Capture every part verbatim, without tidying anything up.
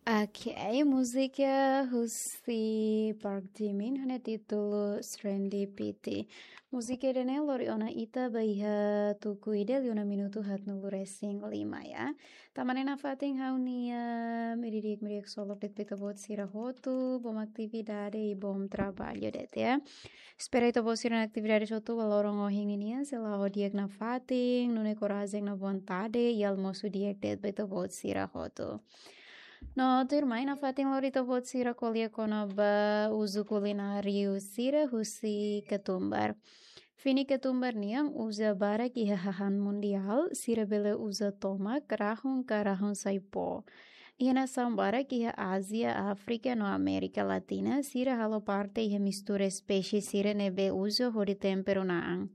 Ok, múzika husi Park Jimin ho nia títulu Serendipity. Múzika ida-ne'e lori ona ita ba iha tuku ida liu ona minutu haatnulu resin lima ya. Tanba ne'e nafatin ha'u-nia meri di'ak, meri di'ak ksolok de'it ba ita-boot sira hotu, bom atividade i bom traballu de'it ya. Espera ita-boot sira-nia atividade hotu ba loron ohin ninian sei la'o di'ak nafatin, nune'e korajen no vontade i almosu di'ak de'it ba ita-boot sira hotu. No tuirmai nafatin lori ita-boot sira ko'alia kona-ba uzu kulináriu sira husi ketumbar. Fini ketumbar nian uza barak iha hahán mundiál, sira bele uza tomak, rahun ka rahun-sai-pó. Iha nasaun barak iha Ázia, Áfrika no Amérika Latina, sira halo parte iha mistura espésie sira ne'ebé uza hodi temperu na'an.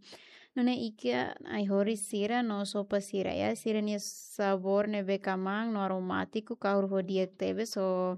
Nune'e ikan ai-horis sira no sopa sira ya, sira-nia sabór ne'ebé kmaan no aromátiku kahur ho di'ak tebes ho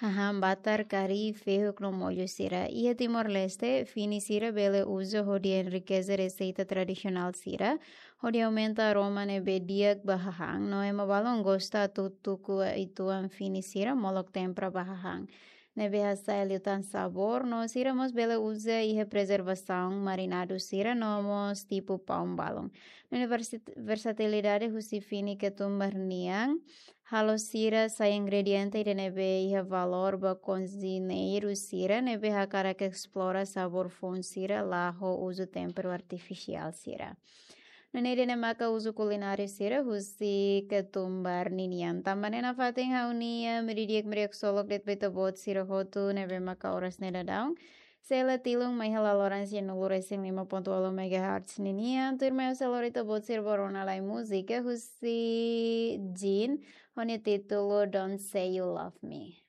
hahán batar, kari, fehuk no mollu sira. Iha Timor-Leste, fini sira bele uza hodi enrikeze reseita tradisionál sira, hodi aumenta aroma ne'ebé di'ak ba hahán, no ema balun gosta atu tuku uitoan fini sira molok tempera ba hahán ne'ebé hasa'e liután sabór, no sira mós bele uza iha prezervasaun marinadu sira no mós tipu paun balun. Nune'e versi-, versatilidade husi fini ketumbar nian halo sira sai ingrediente ida ne'ebé iha valór ba kozineiru sira ne'ebé hakarak esplora sabór foun sira la ho uzu temperu artifisiál sira. Nune'e ida-ne'e maka uzu kulináriu sira husi ketumbar ninian. Tanba ne'e nafatin ha'u-nia meri di'ak, meri di'ak ksolok de'it ba ita-boot sira hotu ne'ebé maka oras ne'e daudaun sei la tilun mai iha laloran sianulu resin lima pontu walu megahertz ninian. Tuirmai ha'u sei lori ita-boot sira ba rona lai múzika husi Jin ho nia títulu Don't Say You Love Me.